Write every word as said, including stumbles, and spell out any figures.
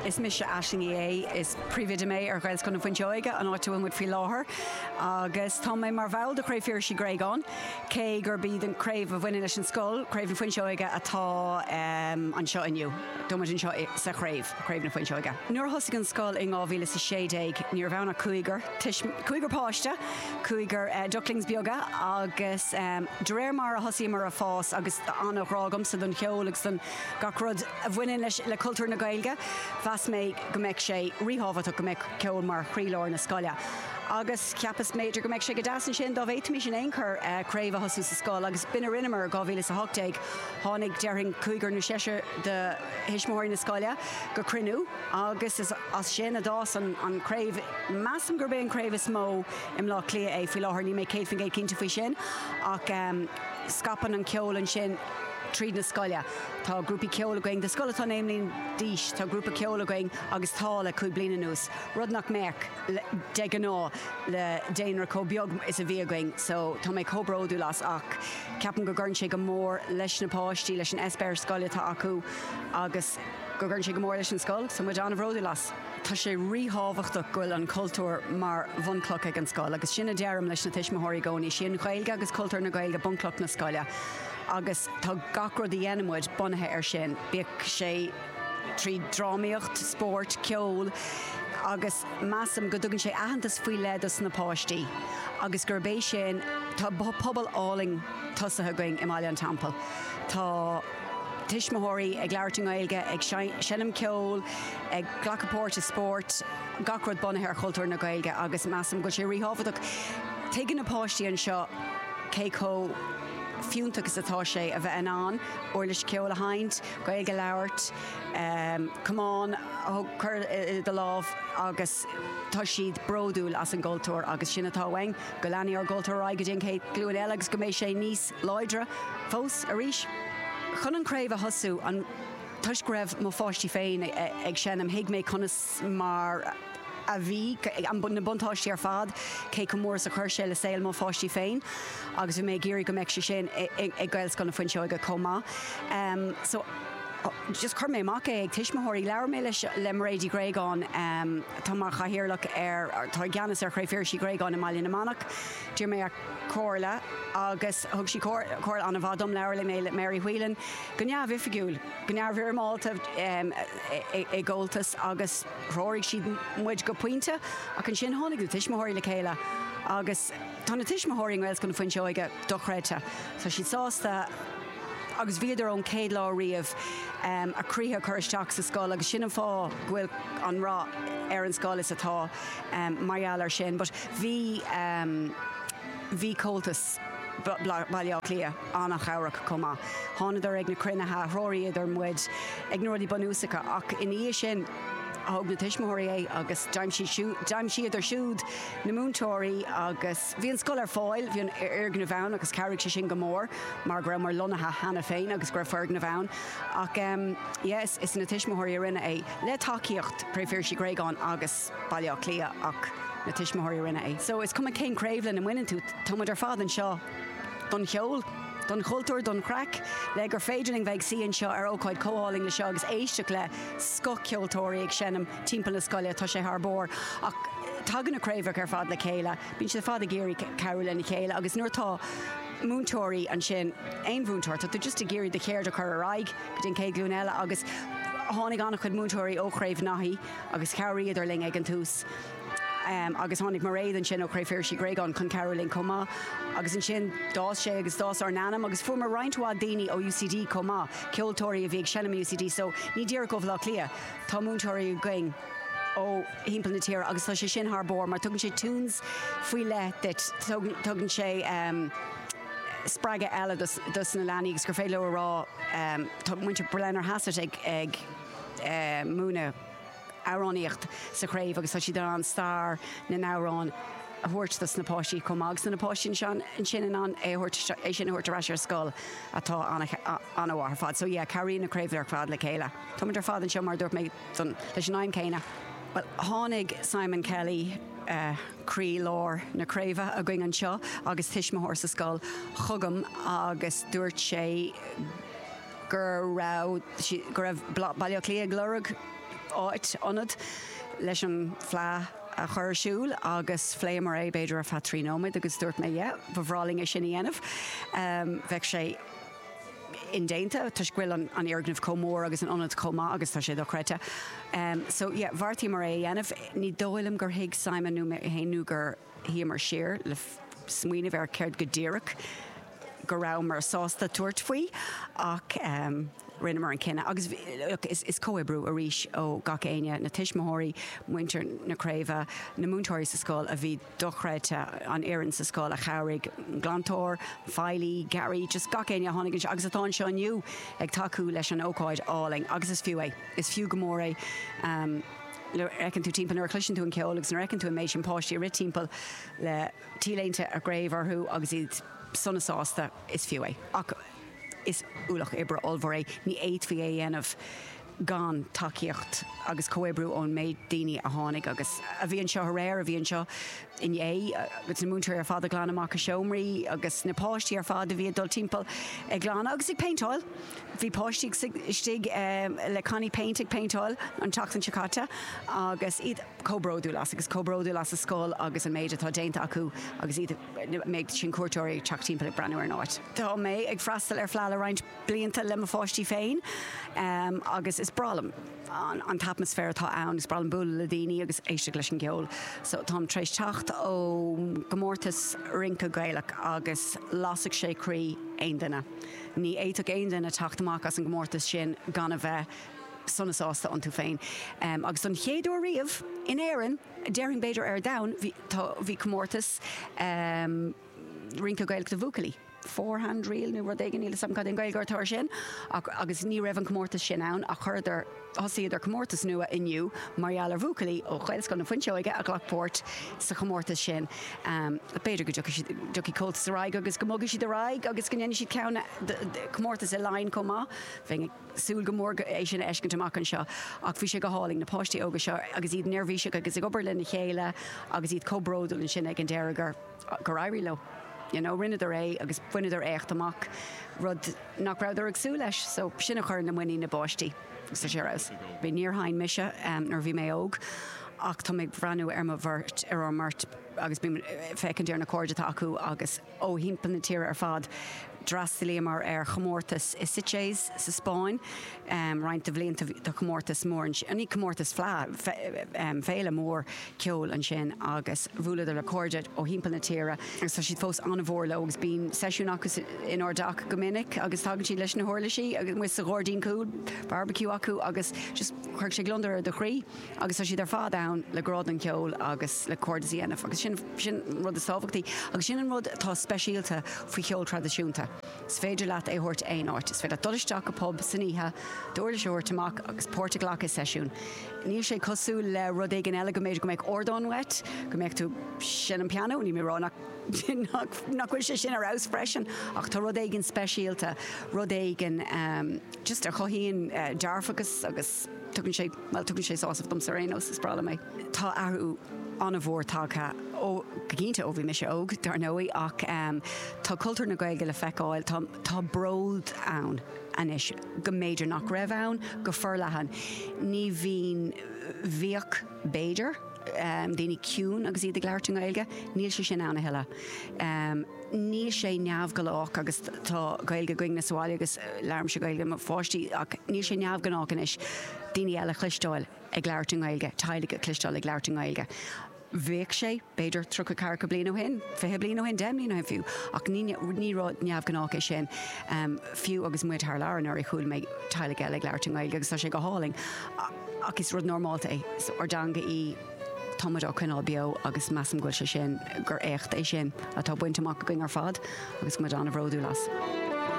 Is mise Aisling Uí Aodha is príomhoide mé ar Ghaelscoil na Fuinseoige an áit a bhfuil muid faoi láthair agus tá mé mar bhall de Chraobh Phiarsaigh Uí Ghréagáin cé gurb í an craobh a bhaineann leis an scoil, Craobh na Fuinseoige atá um, anseo inniu. Tá muid anseo sa chraobh, Craobh na Fuinseoige. Nuair a thosaigh an scoil in dhá mhíle is a sé déag ní raibh ann ach cúigear cúigear páiste, cúigear uh, ducklings beaga agus um, de réir mar a thosaíomar ag fás agus an-ghrá agamsa don cheol agus don gach rud a bhaineann leis le cultúr na Gaeilge, Mheas mé go mbeadh sé ríthábhachtach go mbeadh ceol mar chroílár na scoile. Agus cheapas b'fhéidir go mbeadh sé go deas ansin dá bhféadfaimis in aon chor uh, craobh a thosú sa scoil agus b'in a rinneamar dhá mhíle a hocht déag tháinig déarfainn cúigear nó seisear de thuismitheoirí na scoile go cruinniú agus is as sin a d'fhás an, an craobh measaim gurb é an craobh is mó i mBleá Cliath é faoi láthair níl mé céad faoin gcéad cinnte faoi sin ach um, scaipeann an ceol ansin tríd na scoile. Tá grúpaí ceoil againn, de scoil atá naoi mbliana d'aois, tá grúpa ceoil againn agus tá le cúig bliana anuas. Rud nach mbeadh de ghnáth le daonra chomh beag is a bhí againn, so tá mé chomh bródúil as ach ceapaim go gcuireann sé go mór leis na páistí leis an eispéireas scoile atá acu agus go gcuireann sé go mór leis an scoil, so muid an-bhródúil as. Tá sé ríthábhachtach go bhfuil an cultúr mar bhunchloch ag an scoil, agus sin a deirim leis na tuismitheoirí i gcónaí, sin Gaeilge agus cultúr na Gaeilge bunchloch na scoile. agus tá gach rud a dhéanaimid bunaithe ar sin, bíodh sé trí drámaíocht, spórt, ceol, agus measaim go dtugann sé aitheantas faoi leith dos na páistí. agus gurb é sin tá pobal álainn tosaithe againn i mBaile an Teampaill. Tá tuismitheoirí ag labhairt i nGaeilge ag seinm ceol, ag glacadh páirt i spórt, gach rud bunaithe ar chultúr na Gaeilge agus measaim go sé ríthábhachtach. Tuigeann na páistí anseo cé chomh fiúntach is atá sé a bheith in ann uirlis ceoil a sheinnt, Gaeilge a labhairt, um, camán chur i do lámh agus tá siad bródúil as an gcultúr agus sin atá uainn go leanfaidh ár gcultúr go dtí an chéad ghlúin eile agus go mbeidh sé níos láidre fós arís. Chun an craobh a thosú an toisc go raibh mo pháistí féin ag seinm thuig mé conas mar a bhí na buntáistí ar fad cé chomh mór is a chuir sé le saol mo pháistí féin agus bhí mé ag iarraidh go mbeadh sé sin ag Gaelscoil na Fuinseoige chomh maith. Um, so just chuir mé amach é ag tuismitheoirí labhair mé leis le Mairéad Uí Ghréagáin um, tá mar chathaoirleach ar tá ceannas ar Chraobh Phiarsaigh Uí Ghréagáin i mBaile na Manach, D'iarr mé ar comhairle agus thug sí comhairle an-mhaith dom labhair mé le Mary Whelan go neamhoifigiúil, go neamhfhoirmeálta um, i gComhaltas agus threoraigh siad muid go pointe ach ansin tháinig na tuismitheoirí le chéile agus tá na tuismitheoirí i nGaelscoil na Fuinseoige dochreidte, Tá siad sásta agus bhíodar ón chéad lá riamh um, a gcroíthe chur isteach sa scoil agus sin an fáth go bhfuil an rath ar an scoil is atá um, mar gheall ar sin, but bhí um, bhí Comhaltas Baile Átha Cliath an-chabhrach chomh maith. Thánadar ag na cruinnithe threoraíodar muid ag na rudaí bunúsacha ach ina dhiaidh sin thóg na tuismitheoirí é agus d'aimsíodar siúd na múinteoirí agus bhí an scoil ar fáil, bhí an foirgneamh ann agus chabhraigh sé sin go mór mar go raibh mar lonnaithe cheana féin agus go raibh foirgneamh ann ach um, yes, is na tuismitheoirí a rinne é le tacaíocht Chraobh Phiarsaigh Uí Ghréagáin agus Baile Átha Cliath ach na tuismitheoirí a rinne é. So is cuma cén craobh lena mbaineann tú táimid ar fad anseo don cheol. Don chultúr don chraic le gur féidir linn bheith suí anseo ar ócáid chomh hálainn le seo agus éisteacht le scothcheoltóirí ag seinm timpeall na scoile tá sé thar barr ach tagann na craobhacha ar fad le chéile, bíonn siad fad ag iarraidh cabhrú lena chéile agus nuair atá múinteoirí ansin aon mhúinteoir tá tú just ag iarraidh do cheird a chur ar aghaidh go dtí an chéad ghlúin eile agus tháinig an-chuid múinteoirí ó Chraobh Naithí agus chabhraíodar linn ag an tús. Um, agus tháinig Mairéad ansin ó Chraobh Phiarsaigh Uí Ghréagáin chun cabhrú linn chomh maith agus ansin d'fhás sé agus d'fhás ár n-ainm agus fuair roinnt mhaith daoine ó UCD chomh maith, ceoltóirí a bhí ag seinm UCD, so ní díreach ó Bhaile Átha Cliath tá múinteoirí againn ó thimpeall na tíre agus tá sé sin thar barr mar tugann sé tunes faoi leith duit tugann sé um, spreagadh eile dos, dos na leanaí agus gur féidir leo a rá um, tá muintir Blennerhassett ag, ag uh, múineadh amhránaíocht sa chraobh agus tá siad an stair na n-amhrán a thabhairt dos na páistí chomh maith agus na páistí ansin in ann é é sin a thabhairt ar ais ar scoil atá an-mhaith ar fad. So yeah, cabhraíonn na craobh ar fad le chéile. Táimid ar fad anseo mar dúirt mé leis an aidhm céanna. Well, tháinig Simon Kelly uh, croílár na craoibhe againn anseo agus tuismitheoir sa scoil chugam agus dúirt sé gur raibh go raibh Baile Átha Cliath ag lorg áit ionad leis an Fleadh a chur ar siúl agus phléamar é b'fhéidir ar feadh trí nóiméad agus dúirt mé yeah, ba bhreá linn é sin a dhéanamh. Um, bheadh sé indéanta toisc go bhfuil an, an fhoirgneamh chomh mór agus an ionad chomh maith agus tá sé dochreidte. Um, so yeah, bheartaíomar é a dhéanamh, ní dóigh liom gur thuig Simon nó mé féin nó gur shuíomar siar le smaoineamh ar céard go díreach go rabhamar sásta tabhairt faoi ach um, rinneamar an cinneadh agus look, is, is comhoibriú arís ó gach éinne na tuismitheoirí, muintir na craoibhe, na múinteoirí sa scoil a bhí dochreidte an fhoireann sa scoil a chabhraigh glantóir, feighlí, Gary, just gach éinne a tháinig anseo agus atá anseo inniu ag tacú leis an ócáid álainn agus is fiú é. Is fiú go mór é. Um, fheiceann tú timpeall nuair a chloiseann tú an ceol agus nuair a fheiceann tú an méid sin páistí rith timpeall le T-léinte a gcraobh orthu agus iad sona sásta is fiú é. Ach is ualach oibre ollmhór é ní fhéadfaí é a dhéanamh gan tacaíocht agus comhoibriú ón méid daoine a tháinig agus a bhí anseo aréir a bhí anseo inné agus na múinteoirí ar fad ag glanadh amach a seomraí agus na páistí ar fad a bhí ag dul timpeall ag glanadh agus ag péinteáil. Bhí páistí istigh um, le cannaí péint ag péinteáil an tseachtain seo caite agus iad chomh bródúil as agus chomh bródúil as a scoil agus an méid atá déanta acu agus iad méid sin cuairteoirí ag teacht timpeall ag breathnú ar an áit. Tá mé ag freastal ar Fleadh le roinnt blianta le mo pháistí féin um, agus is breá liom an, an t-atmaisféar atá ann is breá liom bualadh le daoine agus éisteacht leis an gceol. So táim tar éis teacht ó gcomórtas rince Gaelach agus lasfadh sé croí aon duine. Ní fhéadfadh aon duine teacht amach as an gcomórtas sin gan a bheith sona sásta iontu féin. Um, agus an chéad uair riamh in Éirinn, déarfainn b'fhéidir ar domhan bhí bhí comórtas um, rince Gaelach do bhuachaillí. Four-hand reel nó rud éigin níl cad an Ghaeilge atá sin ach, agus ní raibh an comórtas sin ann ach chuireadar thosaíodar comórtas nua inniu mar gheall ar bhuachaillí ó Ghaelscoil na Fuinseoige a ghlac páirt sa chomórtas sin. Um, B'fhéidir go dtiocfaidh Comhaltas ar aghaidh agus go mbogfaidh siad ar aghaidh agus go ndéanfaidh siad ceann comórtas i Laighin chomh maith. Bheinn súil go mór é sin a fheiscint amach anseo ach bhí sé go hálainn na páistí óga seo agus iad neirbhíseach agus ag obair lena chéile agus iad chomh bródúil ansin ag an deireadh gur gur éirigh leo. You know, rinneadar é agus bhaineadar éacht amach rud nach rabhadar ag súil leis, so sin a chuir na muinín na bpáistí sa sé raibh. Bhí níor sheinn mise um, nuair bhí mé óg ach tá mé breathnú ar mo bheirt ar ár mbeirt agus bím féachaint ar na cairde atá acu agus ó thimpeall na tíre ar fad. D'fhreastalaíomar ar chomórtas i Sitges sa Spáinn um, roinnt de bhlianta de chomórtas mór ní comórtas Fleadh um, féile mór ceoil ansin agus bhuaileadar le cairde ó thimpeall na tíre agus tá siad fós an-mhór leo agus bíonn seisiún acu inár dteach go minic agus tagann siad leis na huirlisí agus muid sa ghairdín cúil barbecue acu agus just chuir sé gliondar ar do chroí agus tá siad ar fad ann le grá don cheol agus le cairdeas a dhéanamh agus sin sin rud is tábhachtaí agus sin an rud atá speisialta faoi cheol traidisiúnta. Is féidir leat é thabhairt aon áit, is féidir dul isteach go pub san oíche, d'uirlis a thabhairt amach agus páirt a ghlacadh i seisiún. Níl sé cosúil le rud éigin eile go mb'fhéidir go mbeadh ardán uait, go mbeadh tú sin an pianó, ní mé rá nach nach bhfuil sé sin ar fheabhas freisin ach tá rud éigin speisialta, rud éigin um, just a chothaíonn uh, dearfachas agus tugann sé well tugann sé sásamh dom ar aon nós is breá liom é. Tá athrú an-mhór tagtha ó go cinnte ó bhí mise óg dar ndóigh ach um, tá cultúr na Gaeilge le feiceáil tá, tá bród ann anois go mb'fhéidir nach raibh ann go forleathan. Ní bhíonn bhíodh b'fhéidir um, daoine ciúin agus iad ag labhairt i nGaeilge, níl sé sin ann a thuilleadh. Um, níl sé neamhghnách agus tá Gaeilge againne sa bhaile agus labhraímse Gaeilge le mo pháistí ach níl sé neamhghnách anois daoine eile chloisteáil ag labhairt i nGaeilge, teaghlaigh a chloisteáil ag labhairt i nGaeilge. Bheadh sé b'fhéidir tríocha ceathracha bliain ó shin, fiche bliain ó shin, deich mbliana ó shin fiú, ach ní ní rud neamhghnách é sin um, fiú agus muid thar lear nuair a chuala mé teaghlaigh eile ag labhairt i nGaeilge agus tá sé go hálainn. Ach is rud normálta é, so ár dteanga í táimid á coinneáil beo agus measaim go bhfuil sé sin gur éacht é sin atá bainte amach againn ar fad agus muid an-bhródúil as.